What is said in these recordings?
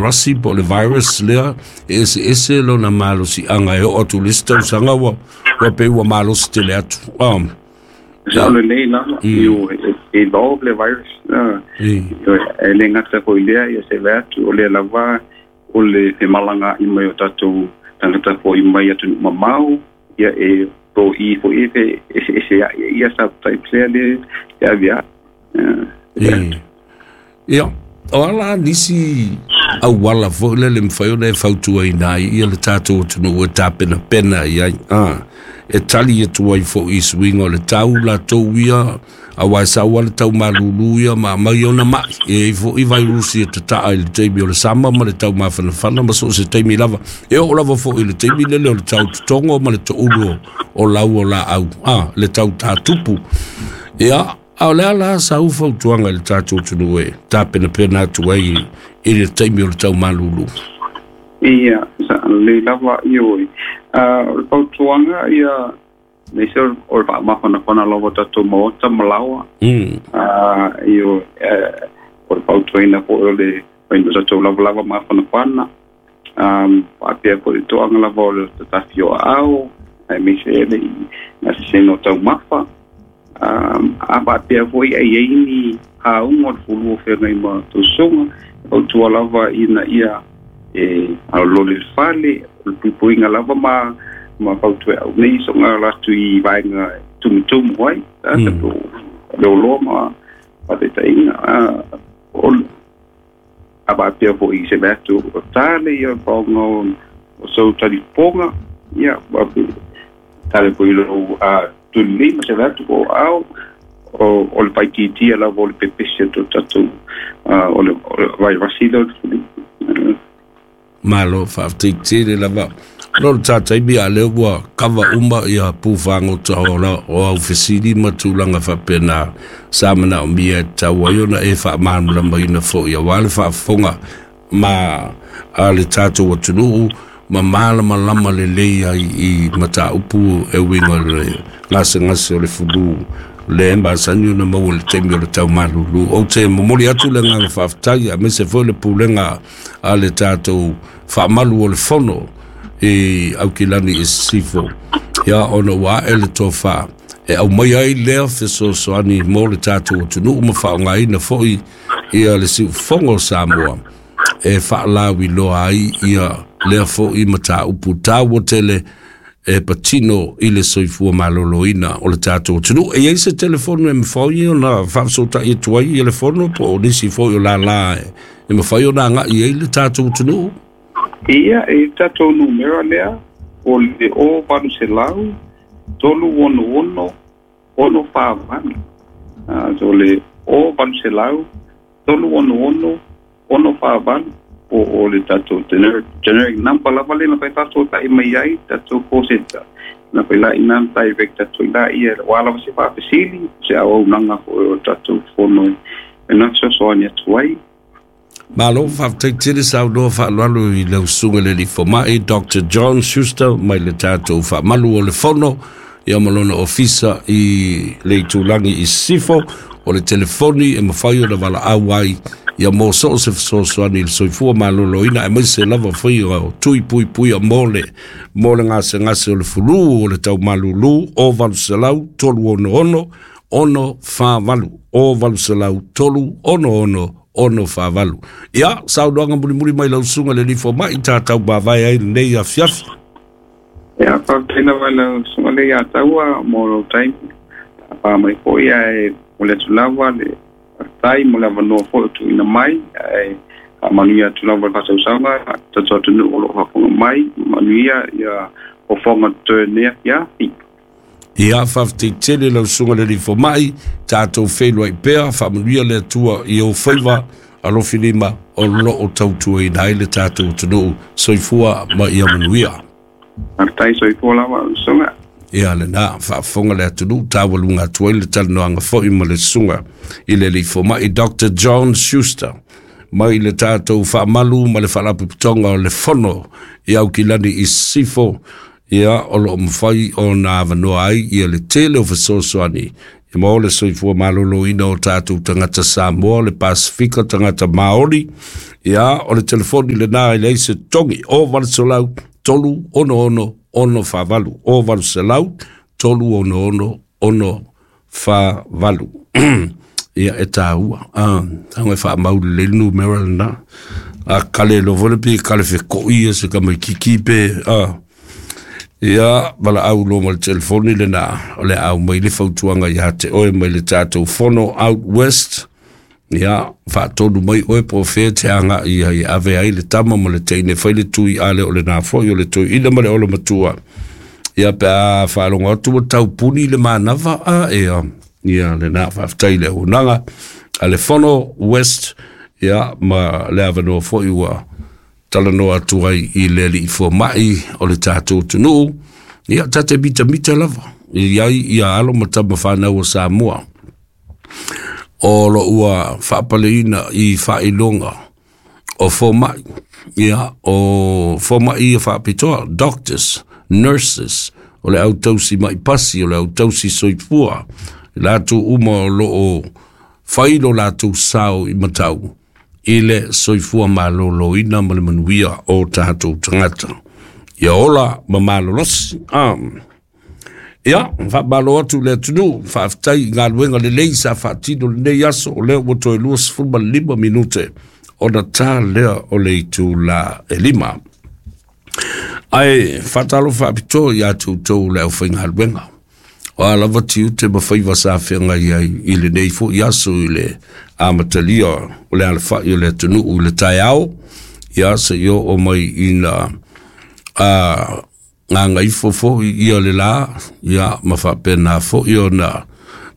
vairasi po o le virus lea e eseese lona malosi'aga e oo atu i le isi tausaga ua ua pei ua malosi tele atu Sao lelei lava, ioe, e evolve le virus. Ioe, e le gata foi i lea, ia se vaai atu o lea lava o le femalagaai mai o tatou tagata fo'i mai atunuu mamao, ia e to'i foi e feeseesea'i ai ia subtypes lea le e avea'i. Ia, o a la nisi auala foi lele e mafai ona e fautuaina ai ia le tatou atunuu e tapenapena i ai, e tali atu ai foi i suiga o le tau latou ia, auā e sau lava le tau malūlū ia ma aumai ona ma'i, e i ai foi vairusi e tata'a i le taimi o le sama ma le tau mafanafana ma so o se taimi lava, e oo lava foi i le taimi lele o le tau totogo ma le to'ulu o lau o laau, le tau tatupu. Ia, a o le a la sau fautuaga i le tatou atunuu e tapenapena atu ai i le taimi o le tau malūlū? Ia, sa lelei lava, ioe. O le fautuaga ia, aemaise o le faamafanafana lava o tatou maota ma laoa. Ioe, o le fautuaina foi o le faiga o tatou lavalava mafanafana. Faapea foi le toaga lava o le tatafi o aao, aemaise le gasesega o taumafa. A faapea foi e i ai ni auga o le fulu o feagai ma tausoga, e fautua lava ina ia e alolole i le fale, o le puipuiga lava ma fautua e au nei soga atu i vaega e tumutumu ai, po o le oloa ma faataitaiga. O a faapea foi se vaai atu o tale ia paoga o sou talifofoga, ia tale foi i lou tulilima se vaai atu po o ao, o le faaitiitia lava o le pepesi atu o tatou o le vairasi lea o le flu. Malo, faafetai tele lava. Ona o le ta taimi a lea ua kava uma ia pufagota o o au fesili ma tulaga faapena sa manaomia e tatau ai ona e faamalamalamaina foi auā le faafofoga ma a le tatou atunuu ma malamalama lelei ai i mataupu e uiga i le gasegase o le fulu lea e masani ona maua i le taimi o le tau malūlū. Ou te momoli atu le agaga faafetai aemaise foi le pulega a le tatou faamalu o le fono i Aukilani i Sisifo, ia ona ua ae le tofa e aumai ai lea fesoasoani mo le tatou atunuu ma faaaogaina foi ia le siufofoga o Samoa e faalauiloa ai ia lea foi mataupu taua tele e patino i le soifua maloloina o le tatou atunuu. E i ai se telefoni e mafai ona faafesootai atu ai ia le fono po o nisi foi o lālā e mafai ona agai ai le tatou atunuu? Ia, e tatou numera lea, o le o 800 366 648. So le o 800 366 648 po o le tatou generic number lava lea na fai faafesootai mai ai tatou call center. Na fai la ina direct atu ai la ia ua lava se faafesili, se auaunaga foi o tatou fono e na fesoasoani atu ai. Malo, faafetai tele saunoa faaaloalo i lau susuga i le alii fomai Dr. John Schuster mai le tatou faamalu o le fono ia ma lona ofisa i le itulagi i Sisifo. O le telefoni e mafai ona valaau ai ia mo so o se fesoasoani i le soifua maloloina aemaise lava foi o tui puipuia mo le mo le gasegase o le fulu o le tau malūlū o 800 366 648 o 800 366 648. Ia, saunoaga mulimuli mai lau susuga i le alii fomai tatau mavae ai lenei afiafi. Ia, faafetai lava i lau susuga lea ia Taua mo lou taimi. Tapa mai foi ae momoli atu lava le faafetai mo le avanoa foi o tuuina mai, ae faamanuia atu lava le faasausaga tatou atunuu o lo o faafofoga mai, manuia ia fofoga totoe o lenei afiafi. Ia, faafetai tele lau susuga i le alii fomai, tatou feiloai pea, faamanuia le Atua i ou faiva alofi lima o lo o tautuaina ai le tatou atunuu. Soifua ma ia manuia. Faafetai, soifua lava lau susuga. Ia lena, faafofoga le atunuu, taualuga atu ai le talanoaga foi ma le susuga i le alii fomai Dr. John Schuster mai le tatou faamalu ma le faalapotopotoga o le Fono i Aukilani i Sisifo, ia o lo o mafai ona avanoa ai ia le tele o fesoasoani. Mo le soifua malōlōina o tatou tagata Samoa, le Pasifika, tagata Maori. Ia, o le telefoni lenā e leai se togi, o 800 366 648, o 800 366 648. Ia, e tāua. Tago e faamau lelei le numera lenā. A kale loa foi le pe kale fekoʻi ia se tamaititi pe ia valaau loa ma le telefoni lenā, o le a aumai le fautuaga iā te oe mai le tatou Fono Out West. Ia, faatonu mai oe po o fea te agaʻi ai e ave ai le tama ma le teine fai le tui ale o lenā foi o le toeaina ma le olomatua. Ia, pe a faalogo atu ua taupuni le manava a ea. Ia, lenā faafetai i le auaunaga a le Fono West, ia, ma le avanoa foi ua talanoa atu ai i le alii fomaʻi o le tatou atunuu. Ia, ta te mitamita lava i ai ia alo ma tama fanau o Samoa o lo ua faapaleina i faailoga o fomaʻi, ia, o fomaʻi ia faapitoa, doctors, nurses, o le au tausi maʻi pasi, o le au tausi soifua, i latou uma o lo o fai lo latou sao i matau i le soifua malōlōina ma le manuia o tatou tagata. Ia ola ma malolosi. Ia, faamalo atu i le atunuu, faafetai i galuega lelei sa faatino lenei aso, o lea ua toe 25 minute ona tā lea o le itulā e 5. Ae faatalofa faapitoa iā te outou le aufaigaluega. O a lava tiute ma faiva sa feagai ai i lenei foi aso i le amatalia o le alafaʻi o le atunuu i le taeao, ia seia oo mai ina gagaifo foi ia le lā, ia ma faapena foi ona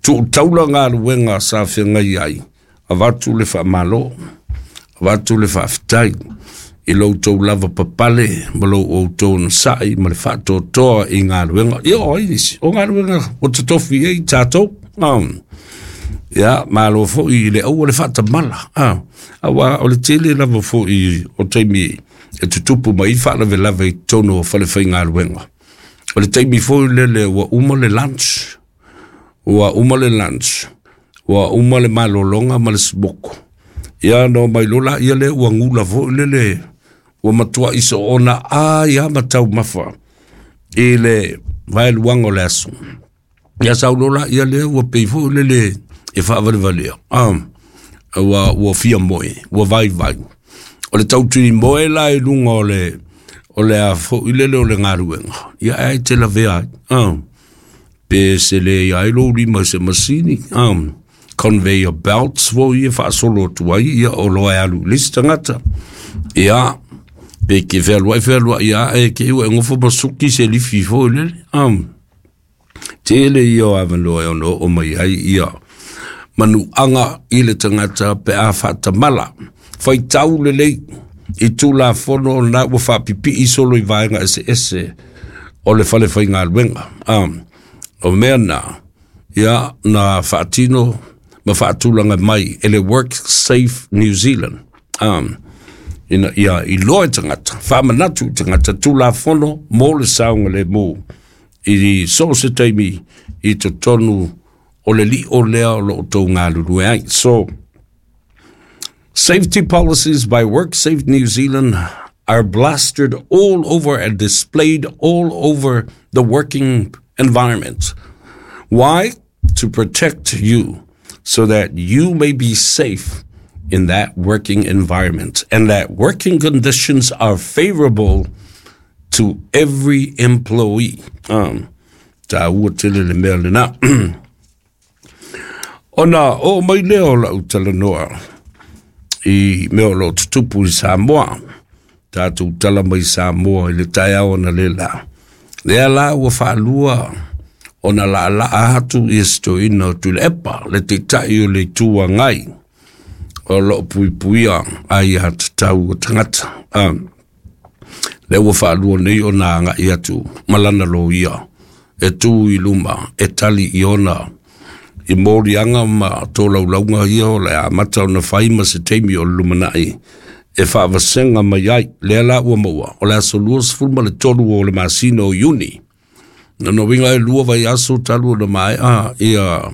tuutaula galuega sa feagai ai, avatu le faamalo, avatu le faafetai i lo outou lava papale ma lo outou onosai ma le faatoatoa i galuega. Ia, o ai nisi o galuega ua totofi ai tatou. Ia, malo foi i le aua le faatamala. Aua o le tele lava foi o taimi e tutupu mai faalavelave i totonu o falefaigaluega. O le taimi foi lele ua uma le lunch, ua uma le lunch, ua uma le malologa ma le smoko. Ia, no mai lola ia le ua gula foi lele, ua matuai soona ai a ma taumafa i le vaeluaga o le aso. Ia sau lola ia lea ua pei foi lele e faavalevalea. Ua fia moe, ua vaivai. O le tautini moe la i luga o le o le a foi lele o le galuega. Ia ai te lavea ai. Pe se le ai lou lima i se masini. Conveyor belts foi e faasolo atu ai, ia o loa e alu i le isi tagata. Ia, pe ke fealuai fealuai ia e ke ua e gofo ma suki se lifi foi lele. Tele ia o avanoa e ono oo mai ai ia manuaga i le tagata pe a faatamala. Faitau lelei i Tulafono na ua faapipii solo i vaega eseese o le falefaigaluega. O mea na, ia, na faatino ma faatulaga mai e le Work Safe New Zealand. Ina ia iloa e tagata, faamanatu i tagata Tulafono mo le saogalemu i so o se taimi i totonu o le lio lea o lo o tou galulue ai. So, safety policies by WorkSafe New Zealand are plastered all over and displayed all over the working environment. Why? To protect you so that you may be safe in that working environment and that working conditions are favorable to every employee. Tāua tele le mea lenā. Ona oo mai lea o lau talanoa i mea o lo o tutupu i Samoa. Tatou tala mai Samoa i le taeao ona le la. Lea la ua faalua ona laalaa atu ia se toeaina o Tuilaepa, le taitai o le Itu Agai o lo o puipuia aiatatau o tagata. Lea ua faalua nei ona agai atu ma lana loia e tu i luma e tali i ona i moliaga ma tolaulauga ia o le amata ona fai ma se taimi o le lumanai e faavasega mai ai. Lea la ua maua o le aso 23 o le masina o Iuni. Na no winga e lua vaiaso talu ona mae'a ia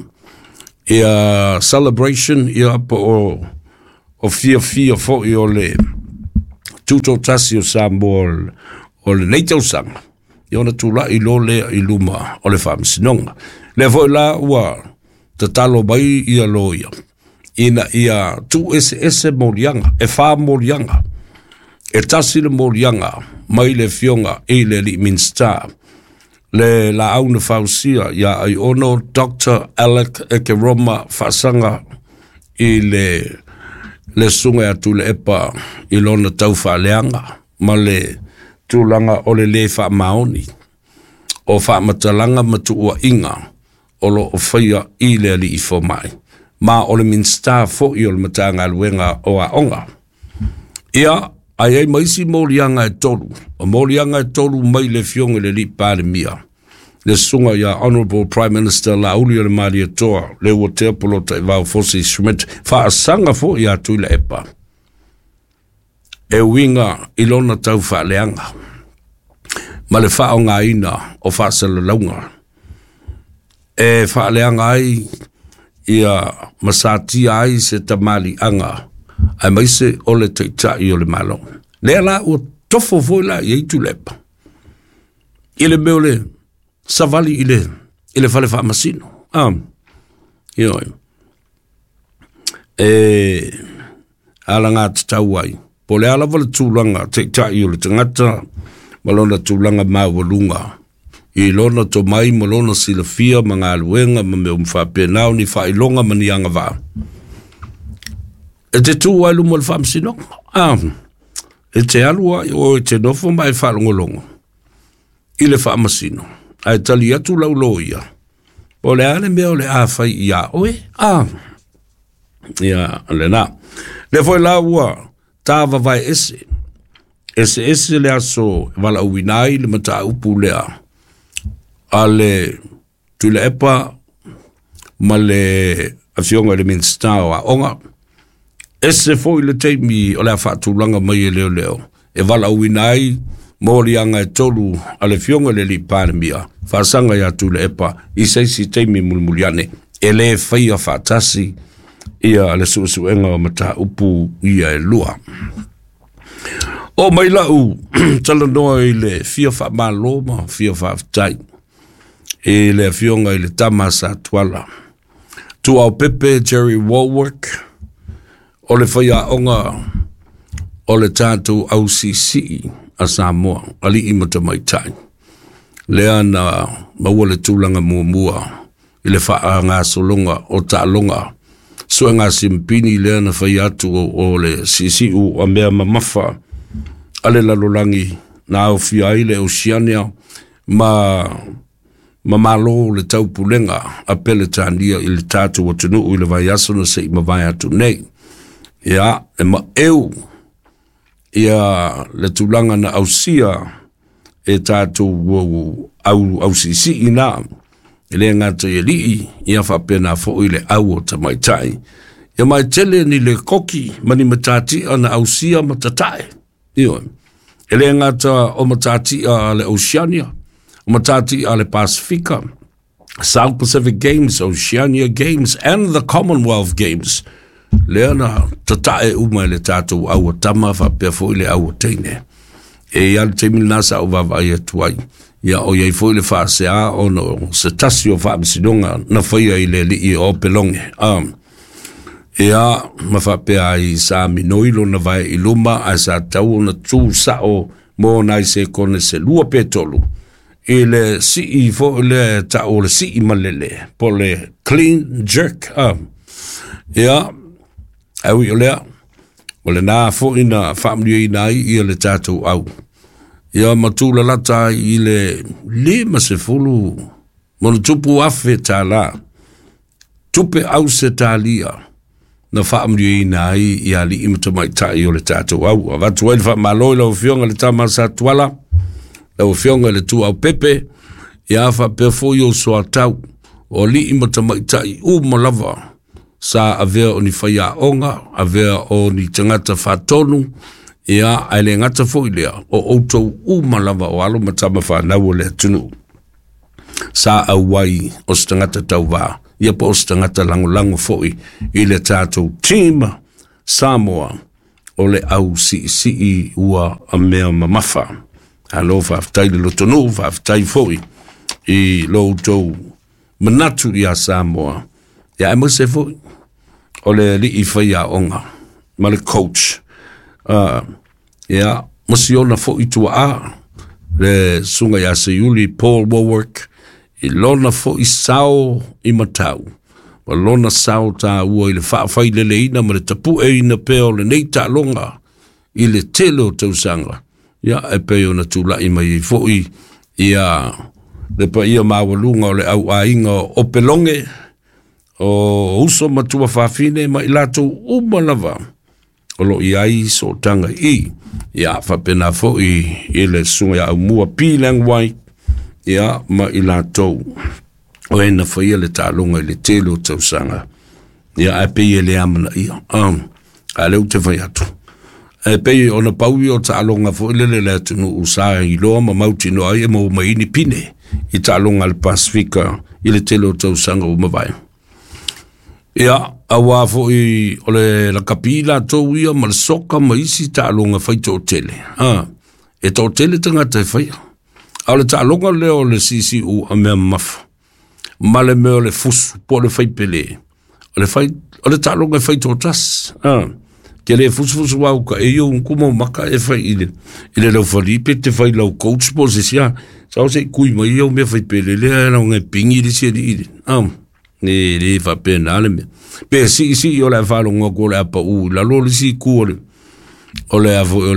Ia celebration ia po o fiafia fo'i o le tutotasi o Samoa o lenei tausaga, ia ona tula'i loa lea i luma o le Faamasinoga. Lea foi la ua tatalo mai ia loia ina ia tuueseese moliaga, e 4 moliaga. E tasi le moliaga mai le afioga i le alii Minisita, le laau na fausia ia Aiono Dr. Alec Ekeroma Faasaga i le susuga ia Tuilaepa i lona taufaaleaga ma le tulaga o le lē faamaoni o faamatalaga ma tuuaiga o lo o faia i le alii fomai, ma o le Minisita fo'i o le Matagaluega o Aoga. Ia, ai ai ma isi moliaga e 3, o moliaga e 3 mai le afioga i le alii Palemia, le susuga ia Honourable Prime Minister Laauli o le Malietoa, le ua tea polota i vao Fosi Schmidt, faasaga fo'i ia Tuilaepa, e uiga i lona taufaaleaga ma le faaaogaina o faasalalauga e faaleaga ai ia masatia ai se tamaliiaga aemaise o le taitai o le Malo. Lea la ua tofo foi la i ai Tuilaepa i le mea o le savali i le fale faamasino. Ioe. E alaga tatau ai po o le a lava le tulaga taitai o le tagata ma lona tulaga maualuga i lona tomai ma lona silafia ma galuega ma mea uma faapena o ni faailoga ma ni agavaa. E te tu ai luma o le faamasinoga. E te alu ai o e te nofo ma e faalogologo i le faamasino, ae tali atu lau loia, po o le a le mea o le a fai ia oe. Ia, lena. Lea foi la ua tāvavae ese, ese ese le aso e valaauina ai le mataupu lea a le Tuilaepa ma le afioga i le Minisita o Aoga. Ese foi le taimi o le a faatulaga mai e leoleo e valaauina ai moliaga e 3 a le afioga i le alii Palemia, faasaga ia Tuilaepa i se isi taimi mulimuliane, e lē faia faatasi ia le suesuega o mataupu ia e 2. O mai lau talanoa i le fia faamalo ma fia faafetai i le afioga i le tama sa Tuala, Tuaopepe Jerry Warwick, o le faiaoga o le tatou ausiisii a Samoa, alii ma tamaitai. Lea na maua le tulaga muamua i le faagasologa o taaloga suega simpini lea na fai atu o le siisiu a mea mamafa a le lalolagi na aofia ai le Oceania ma malo le taupulega a Peletania i le tatou atunuu i le vaiaso na se'i mavae atu nei. Ia, e maeu ia le tulaga na ausia e tatou ausiisii na, e le gata i alii, ia faapena fo'i le au o tamaitai. Ia mai tele ni le koki ma ni matatia na ausia ma tatae. Ioe. E le gata o matatia a le Oceania, o matatia a le Pasifika, South Pacific Games, Oceania Games and the Commonwealth Games. Lea na tatae uma i le tatou au a tama faapea foi le au a teine. E ia le taimi lena sa ou vaavaai atu ai. Ia o iai foi le faasea ona o se tasi o faamasinoga na faia i le alii o Opeloge. Ia, ma faapea ai sa minoi lona vae i luma ae sa tau ona tu sa'o mo nai sekone se 2 pe 3 i le sii foi lea e ta'u o le sii malele po le clean jerk. Ia, ae ui o lea, o lena fo'i na faamanuiaina ai ia le tatou au. Ia ma tūlalata ai i le 50 ma tupu afe tālā, tupe au se tālia, na faamanuiaina ai i alii ma tamaitai o le tatou au. Avatu ai le faamalo i lau afioga i le tama sa Tuala, lau afioga i le Tuaopepe, ia faapea foi o soatau, o alii ma tamaitai uma lava, sa avea o ni faiaoga, avea o ni tagata faatonu, ia ae le gata foi lea, o outou uma lava o alo ma tama fanau o le atunuu. Sa auai o se tagata tauvā. Ia po o se tagata lagolago fo'i i le tatou team Samoa o le au siisii ua mea mamafa. Alo faafetai le lotonuu, faafetai fo'i i lo outou manatu ia Samoa. Ia aemaise fo'i o le alii faiaoga ma le coach. Ia, ma siona fo'i tuaa le susuga ia Seiuli Paul Warwick i lona fo'i sao i matau ma lona sao tāua i le faafaileleina ma le tapu'eina pea o lenei taaloga i le tele o tausaga. Ia e pei ona tula'i mai ai fo'i ia le paia maualuga o le auaiga o Opeloge o uso matua fafine ma i latou uma lava o lo i ai sootaga i. Ia faapena fo'i i le susuga ia Aumua P. Langwai, ia ma i latou o e na faia le taaloga i le tele o tausaga. Ia ae pei e le amanaia. A lea ou te fai atu. E pei ona pau ia o taaloga fo'i lele le atunuu sa iloa ma mautinoa ai e maua mai ai ni pine i taaloga a le Pasifika i le tele o tausaga ua mavae. Ia, auā fo'i o le lakapi latou ia ma le soka ma isi taaloga fai to'atele. E to'atele tagata e faia. A o le taaloga lea o le siisiu a mea mamafa ma le mea o le fusu po o le faipele, o le fai o le taaloga e fai to'atasi. Ke le fusufusu au ka e iu kuma maka e fai i le laufali pe te fai lau coach po se sia. Sa o se kui mai iau mea faipele lea e lau ngai pingi le sia li i le. Ne le faapena le mea. Pe siisii o le a faalogo atu o le a pa'ū i lalo o le isi itu o le o le a foi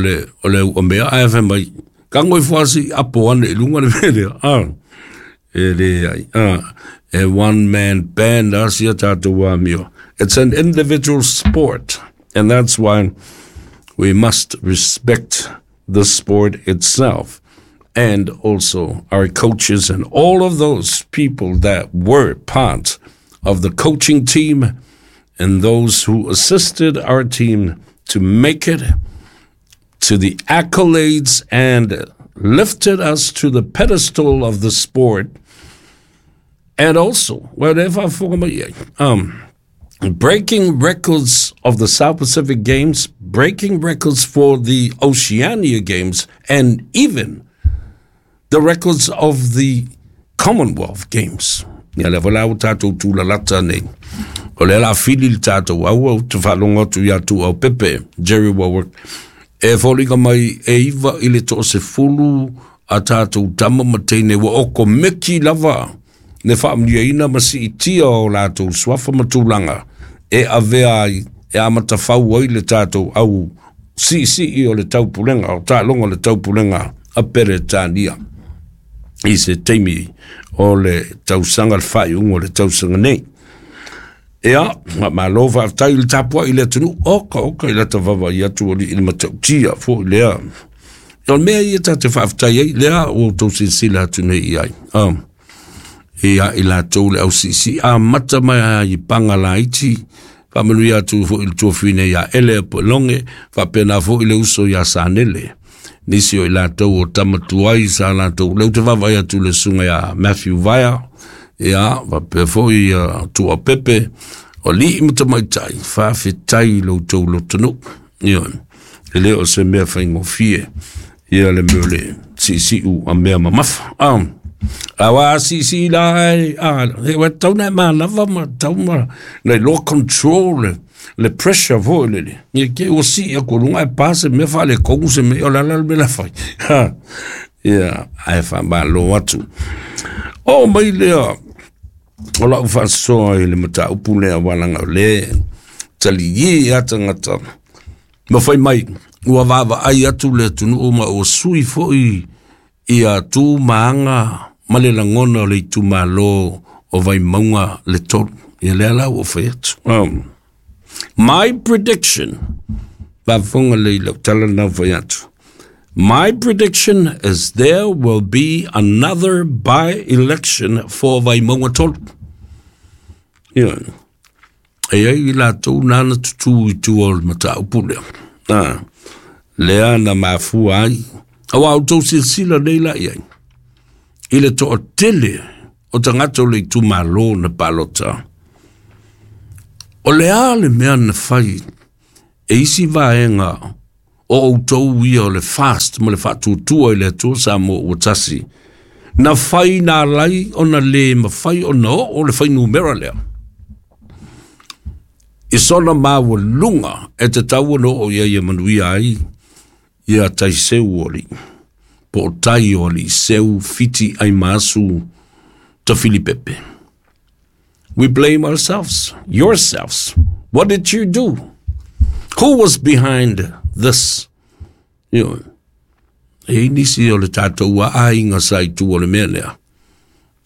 o le uamea ae fai mai tago ifo lava se i apo ane i luga le mea lea. E leai. E one man band a sia tatou amio. It's an individual sport, and that's why we must respect the sport itself and also our coaches and all of those people that were part of the coaching team and those who assisted our team to make it to the accolades and lifted us to the pedestal of the sport. And also, whatever breaking records of the South Pacific Games, breaking records for the Oceania Games, and even the records of the Commonwealth Games. Ia lea foi la ua tatou tulalata nei. O lea la fili le tatou aua ou te faalogo atu ia Tuuau Pepe, Jerry Warwick, e foliga mai e 9 i le 10 a tatou tama ma teine ua oko meki lava le faamanuiaina ma siitia o latou suafa ma tulaga e avea ai e amatafau ai le tatou au siisii o le taupulega o taaloga o le taupulega a Peretania i se taimi o le tausaga le faaiuga o le tausaga nei. Ia, malo faafetai i le tapuai i le atunuu, oka oka i lata vaavaai atu alii i le matautia foi lea. O le mea ia tatou te faafetai ai, lea ua outou silasila atu nei i ai. Ia i latou le ausiisii amata mai lava i paga laiti, faamanuia atu foi i le tuafine ia Ele Apoelonge, faapena foi le uso ia Sanele. Nisi o i latou o tama tuai sa latou, lea ou te vaavaai atu i le susuga ia Matthew Vaea, ia, faapea foi ia Tuapepe, o alii ma tamaitai, faafetai i lo outou lotonuu. Ioe, e le o se mea faigofie ia le mea o le siisiu a mea mamafa. Aua a siisii la e, e ua tatau ona e manava ma tatau ma na iloa control le pressure foi lele. Ia ke ua sii atu i luga ae pa se mea faaletonu se mea, o le a la le mea la fai. Ia, ae faamalo atu. Oo mai lea o lau faasoa i le mataupu lea aua leaga o lea e taliē lava tagata ma fai mai ua vaavaai atu le atunuu ma ua sui foi ia tu ma aga ma le lagona o le itumalo o Vaimauga le 3. Ia lea la ua fai atu. My prediction, faafofoga lelei i lau tala lena ua fai atu. My prediction is there will be another by-election for Vaimauga 3. Ia, e i ai i latou nana tutū i tua o le mataupu lea. Lea na mafua ai. Aua outou silasila nei la i ai i le toatele O tagata o le itumalo na palota. O le a le mea na fai e isi vaega o outou ia o le FAST ma le Faatuatua i le Atua Samoa ua tasi, na fai na alai ona le mafai ona oo le fuainumera lea i sona maualuga e tatau ona oo i ai e manuia ai ia taiseu o alii po o tai o alii seu Fiti Aimaasu Tafilipepe. We blame ourselves, yourselves. What did you do? Who was behind this? You know, e nisi o le tatou aiga sa i tua o le mea lea.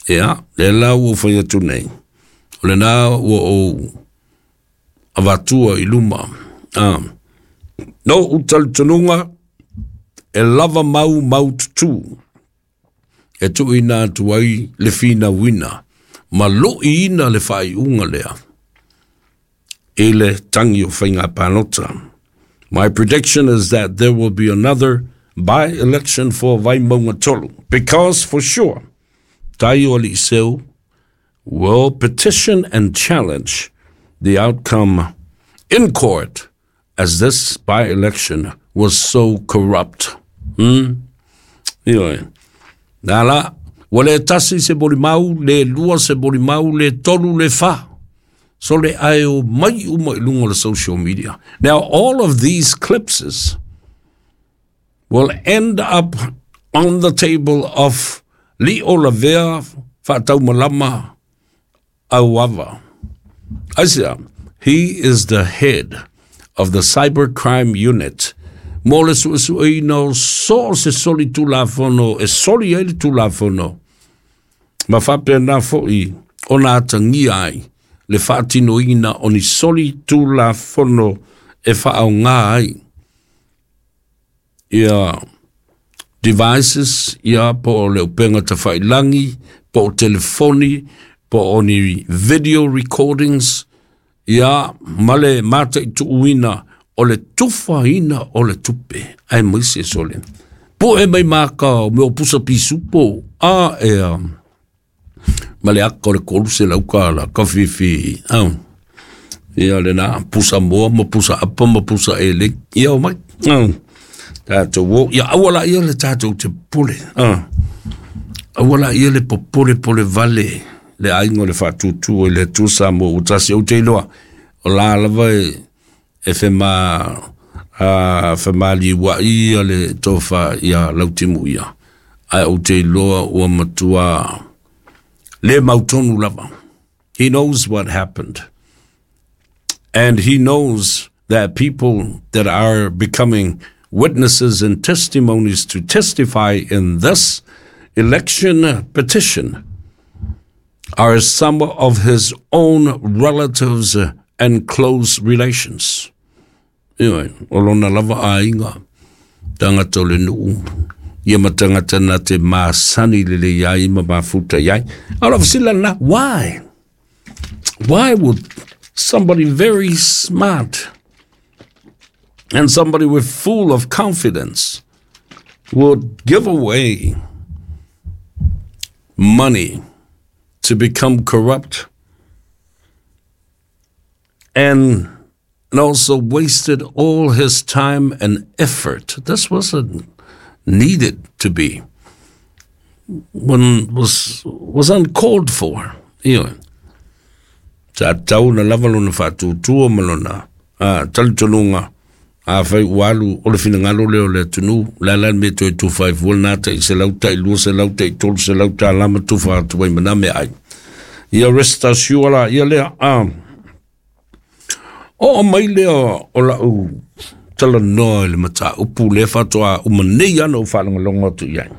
Ia, le la ua fai atu nei. O lena ua ou avatua i luma. No u talitonuga e lava mau mau tutū e tuuina atu ai le finauina ma loiina le faaiuga lea i le tagi o faiga palota. My prediction is that there will be another by-election for Vaimauga 3, because for sure, Tai o Alii Seu will petition and challenge the outcome in court, as this by-election was so corrupt. Ioe. Nā la, ua le tasi se molimau, le lua se molimau, le tolu, le fa. So le ae o mai uma i lunga o le social media. Now, all of these clips will end up on the table of Lio Lavea Faataumalama Auava. Aisea, he is the head of the cybercrime unit mo le suesueina o so o se soli tulafono e soli ai le tulafono ma faapena fo'i ona atagia ai le faatinoina o ni soli tulafono e faaaogā ai ia devices, ia po o le upega tafailagi, po o telefoni, po o ni video recordings, ia ma le mataituuina o le tufaina o le tupe aemaise sole po'e mai maka o mea o pusa pisupo a ea ma le aka o le 300 tala ka fifi au ia lena pusa moa ma pusa apa ma pusa ele ia o mai au tatou o ia aua laia le tatou te popole a aua laia le popole pole vale le aiga o le Faatuatua i le Atua Samoa ua tasi. Ou te iloa o la lava e fema a femaliua'i ia le tofa ia Lautimu ia, ae ou te iloa ua matua le mautonu lava. He knows what happened, and he knows that people that are becoming witnesses and testimonies to testify in this election petition are some of his own relatives and close relations. Ioe, o lona lava aiga, tagata o le nuu, ia ma tagata na te masani lelei ai ma mafuta i ai. A o lau fesili lena, why? Why would somebody very smart and somebody with full of confidence would give away money to become corrupt and also wasted all his time and effort? This wasn't needed to be. One was uncalled for. Ioe. Sa tatau ona lava lona faatuatua ma lona talitonuga, afai ua alu o le finagalo lea o le atunuu, o le a la le mea e toe tufa ai fua lena tai 100, tai 200, tai 300 tala ma tufa atu ai ma na meaai. Ia rest assured la ia lea. Oo mai lea o lau talanoa i le mataupu lea faatoa uma nei ana ou faalogologo atu i ai.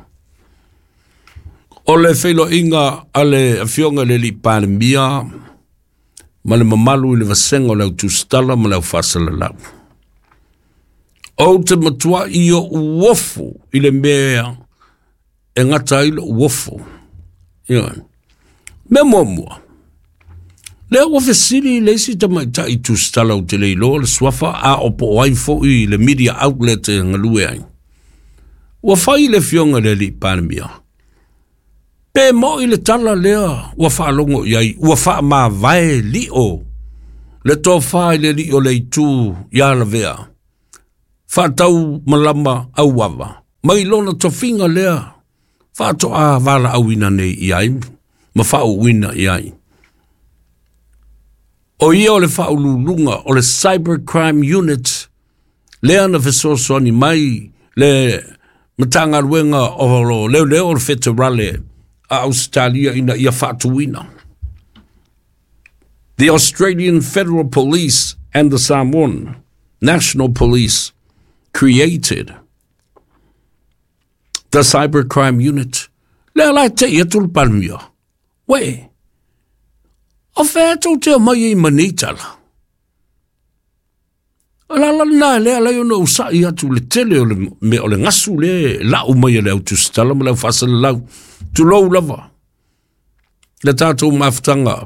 O le feiloaiga a le Afioga i le Alii Palemia ma le mamalu i le vasega o le au tusitala ma le au faasalalau. Ou te matuai o'u ofu i le mea e gata ai lo'u ofu. Ioe. Mea muamua, lea ua fesili le isi tamaitai tusitala ou te le iloa le suafa a o po o ai fo'i le media outlet e galue ai. Ua fai le Afioga i le Alii Palemia. Pe mo'i le tala lea ua faalogo i ai, ua faamavae li'o le tofa i le alii o le itu ia Lavea, faatau malama auava, mai lona tofiga lea faatoa valaauina nei i ai ma faauuina i ai. O ia o le faauluuluga o le Cyber Crime Unit lea na fesoasoani mai le Matagaluega o Leoleo o le Feterale a Ausetalia ina ia faatuina. The Australian Federal Police and the Samoan National Police created the Cybercrime Unit. Lea la e tei atu le Palemia. Uē, o fea tou te omai ai ma nei tala? O le ala lena lea alai ona ou sa'i atu i le tele o le mea o le gasu lea e la'u mai e le au tusitala ma le au faasalalau, tulou lava, le tatou mafutaga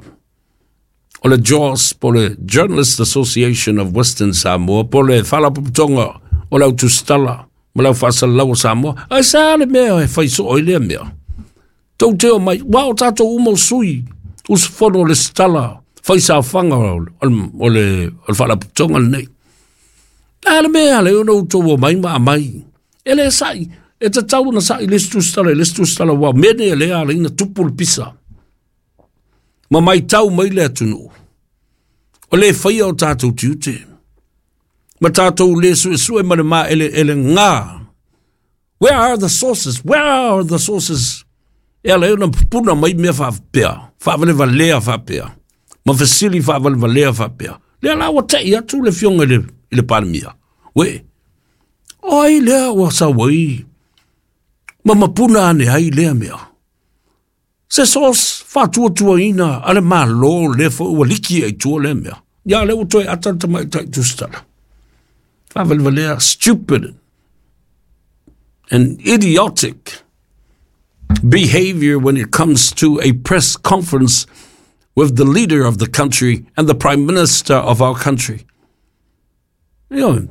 o le JAWS po o le Journalist Association of Western Samoa po o le Faalapotopotoga o le Au Tusitala ma le Au Faasalalau o Samoa. Ae sa le mea e fai soo ai lea mea? Tou te omai, ua o tatou uma o sui usufono o le sitala fai saofaga o le faalapotopotoga lenei. A le mea le ona outou omai ma aumai. E le sa'i, e tatau ona sa'i le isi tusitala i le isi tusitala, ua mea nei e le ala ai ona tupu le pisa. Ma maitau mai le atunuu, o le faia o tatou tiute, ma tatou le suesue ma le maeleelega. Where are the sources? Where are the sources? E ala ai ona pupuna mai mea faapea, faavalevalea faapea, ma fesili faavalevalea faapea. Lea la ua tei atu le afioga i le, i le Palemia. Uē, o ai lea ua sau ai ma mapuna ane ai lea mea? Se source faatuatuaina a le Malo lea foi ua liki ai tua lea mea. Ia lea ua toe ata le tamaitai tusitala. Faavalevalea, stupid and idiotic behavior when it comes to a press conference with the leader of the country and the prime minister of our country. Ioe.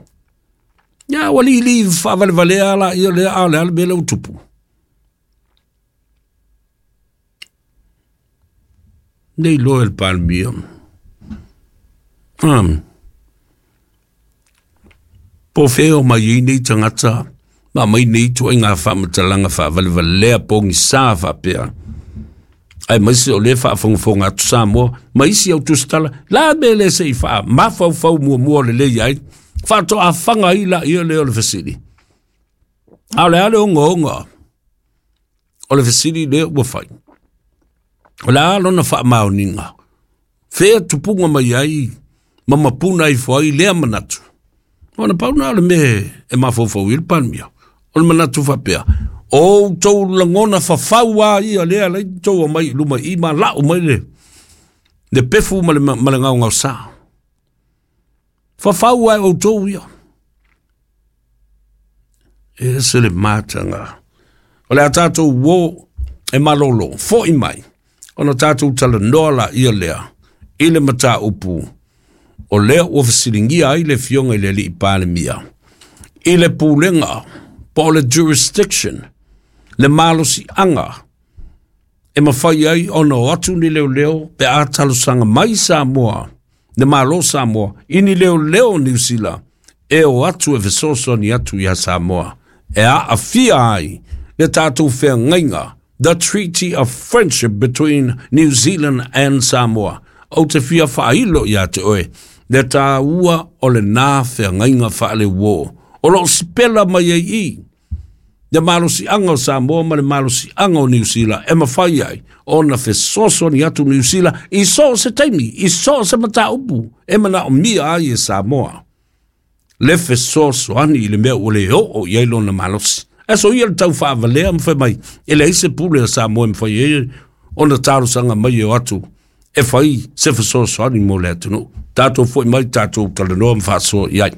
Ia, ua lili faavalevalea la ia lea, a o le a le mea lea ua tupu? Nei loa e le Palemia. Po o fea o mai ai nei tagata ma aumai nei ituaiga faamatalaga faavalevalea pogisa faapea. Aemaise o lea e faafogafoga atu Samoa ma isi au tusitala, la mea lea se i faamafaufau muamua lelei ai, faatoa faga ai laia lea o le fesili. A o le a le ogaoga o le fesili lea ua fai? O le a lona faamaoniga? Fea tupuga mai ai ma mapuna ifo ai lea manatu? Ona pau na o le mea e mafaufau i le Palemia. O le manatu faapea, o outou lagona fafau a ia lea alai tou omai i luma i ma lau mai le pefu ma le gaogaosa. Fafau ai outou ia. E ese le mataga. O le a tatou uō e malolo, fo'i mai, ona tatou talanoa laia lea i le mataupu o lea ua fesiligia ai le Afioga i le Alii Palemia i le pulega po o le jurisdiction, le malosiaga e mafai ai ona o atu ni leoleo pe a talosaga mai Samoa, le Malo Samoa, i ni leoleo o Niu Sila e o atu e fesoasoani atu iā Samoa e aafia ai le tatou feagaiga, the Treaty of Friendship between New Zealand and Samoa. Ou te fia faailo iā te oe le tāua o lenā feagaiga faaleuō o loo sipela mai ai i le malosiaga o Samoa ma le malosiaga o Niu Sila e mafai ai ona fesoasoani atu Niu Sila i so o se taimi, i so o se mataupu e manaomia ai e Samoa le fesoasoani i le mea ua le oo i ai lona malosi. Ae soia le tau faavalea ma fai mai, e leai se pule a Samoa e mafai ai ona talosaga mai e o atu e fai se fesoasoani mo le atunuu. Tatou foi mai tatou talanoa ma faasoa i ai.